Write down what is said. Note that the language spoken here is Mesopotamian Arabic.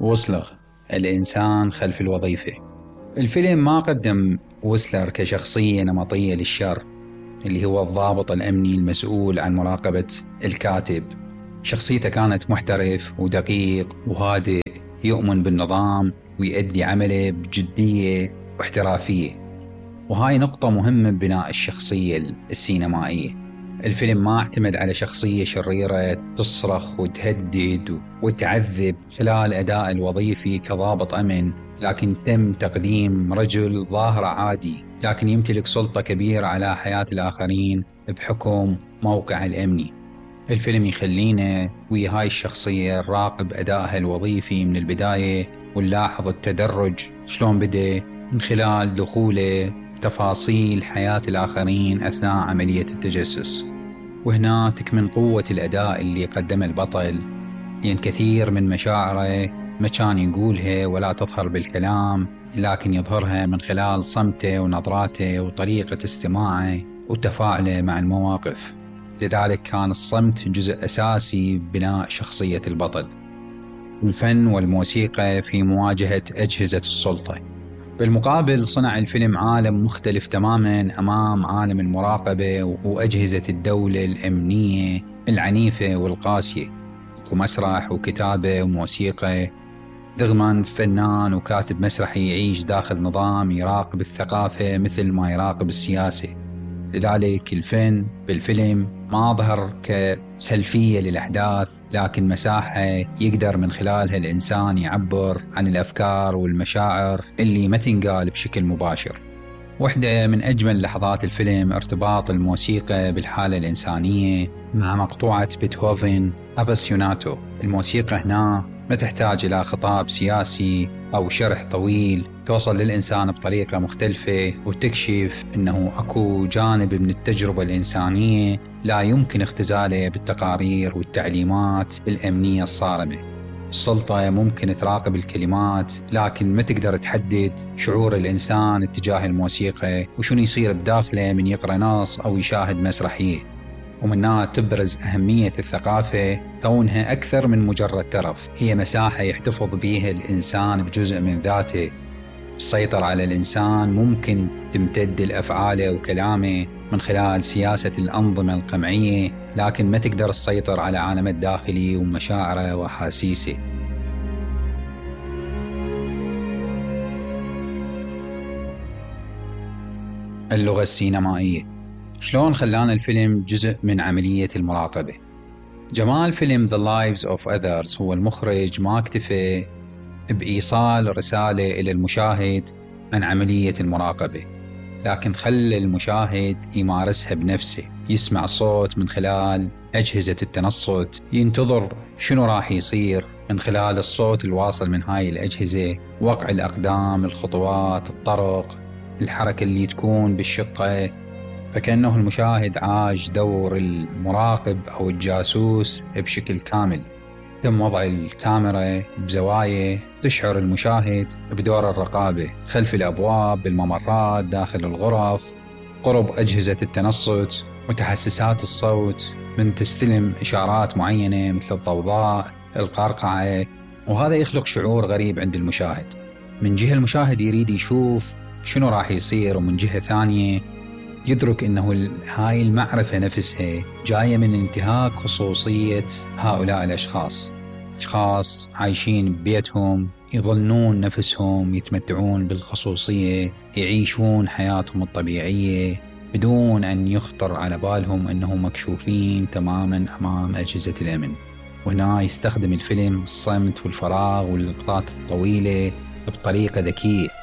ويسلر الإنسان خلف الوظيفة. الفيلم ما قدم ويسلر كشخصية نمطية للشر اللي هو الضابط الأمني المسؤول عن مراقبة الكاتب. شخصيته كانت محترف ودقيق وهادئ، يؤمن بالنظام ويؤدي عمله بجدية واحترافية، وهاي نقطة مهمة ببناء الشخصية السينمائية. الفيلم ما اعتمد على شخصية شريرة تصرخ وتهدد وتعذب خلال أداء الوظيفي كضابط أمن، لكن تم تقديم رجل ظاهر عادي لكن يمتلك سلطة كبيرة على حياة الآخرين بحكم موقعه الأمني. الفيلم يخلينا ويا هاي الشخصية نراقب أدائها الوظيفي من البداية، ونلاحظ التدرج شلون بدأ من خلال دخوله تفاصيل حياة الآخرين أثناء عملية التجسس. وهنا تكمن قوة الأداء اللي قدمه البطل، لأن كثير من مشاعره ما كان يقولها ولا تظهر بالكلام، لكن يظهرها من خلال صمته ونظراته وطريقة استماعه وتفاعله مع المواقف. لذلك كان الصمت جزء أساسي ببناء شخصية البطل. الفن والموسيقى في مواجهة أجهزة السلطة. بالمقابل صنع الفيلم عالم مختلف تماما أمام عالم المراقبة وأجهزة الدولة الأمنية العنيفة والقاسية. ومسرح وكتابة وموسيقى، رغم فنان وكاتب مسرحي يعيش داخل نظام يراقب الثقافة مثل ما يراقب السياسة. لذلك الفن بالفيلم ما ظهر كسلفية للأحداث، لكن مساحة يقدر من خلالها الإنسان يعبر عن الأفكار والمشاعر اللي ما تنقال بشكل مباشر. واحدة من أجمل لحظات الفيلم ارتباط الموسيقى بالحالة الإنسانية مع مقطوعة بيتهوفن أباسيوناتو. الموسيقى هنا ما تحتاج إلى خطاب سياسي أو شرح طويل، توصل للإنسان بطريقة مختلفة وتكشف أنه أكو جانب من التجربة الإنسانية لا يمكن اختزاله بالتقارير والتعليمات الأمنية الصارمة. السلطة ممكن تراقب الكلمات، لكن ما تقدر تحدد شعور الإنسان اتجاه الموسيقى وشنو يصير بداخله من يقرأ نص أو يشاهد مسرحية. ومنها تبرز أهمية الثقافة كونها أكثر من مجرد ترف، هي مساحة يحتفظ بها الإنسان بجزء من ذاته. السيطرة على الإنسان ممكن تمتد لأفعاله وكلامه من خلال سياسة الأنظمة القمعية، لكن ما تقدر تسيطر على عالمه الداخلي ومشاعره وأحاسيسه. اللغة السينمائية شلون خلانا الفيلم جزء من عملية المراقبة. جمال فيلم The Lives of Others هو المخرج ما اكتفى بإيصال رسالة إلى المشاهد عن عملية المراقبة، لكن خلى المشاهد يمارسها بنفسه، يسمع صوت من خلال أجهزة التنصت، ينتظر شنو راح يصير من خلال الصوت الواصل من هاي الأجهزة، وقع الأقدام، الخطوات، الطرق، الحركة اللي تكون بالشقة. فكأنه المشاهد عاش دور المراقب أو الجاسوس بشكل كامل. تم وضع الكاميرا بزوايا تشعر المشاهد بدور الرقابة خلف الأبواب، بالممرات، داخل الغرف، قرب أجهزة التنصت وتحسسات الصوت من تستلم إشارات معينة مثل الضوضاء، القرقعة. وهذا يخلق شعور غريب عند المشاهد. من جهة المشاهد يريد يشوف شنو راح يصير، ومن جهة ثانية يدرك أنه هاي المعرفة نفسها جاية من انتهاك خصوصية هؤلاء الأشخاص. أشخاص عايشين ببيتهم، يظنون نفسهم يتمتعون بالخصوصية، يعيشون حياتهم الطبيعية بدون أن يخطر على بالهم أنهم مكشوفين تماما أمام أجهزة الأمن. وهنا يستخدم الفيلم الصمت والفراغ واللقطات الطويلة بطريقة ذكية.